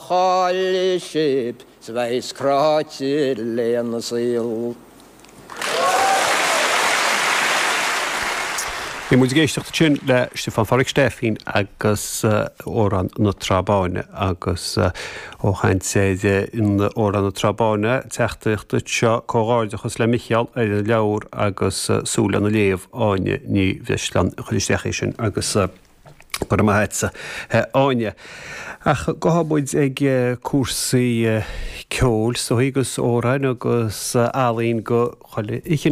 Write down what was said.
Chaillfidh sibh 's a bheas cráite lena saol. Bhí muid ag éisteacht ansin le Stiofán Phádraig Stephen agus Amhrán na Trá Báine agus ó chaint ar an Amhrán na Trá Báine, teachtaireacht anseo, comhghairdeachas le Micheál ar an leabhar agus súil lena léamh, Áine Ní Bhreisleáin a chuir isteach é sin agus. Go raibh maith agatsa, a Áine. Ach gabhfaidh muid ag cúrsaí ceoil is dóigh agus amhráin agus ealaín de chuile chineál.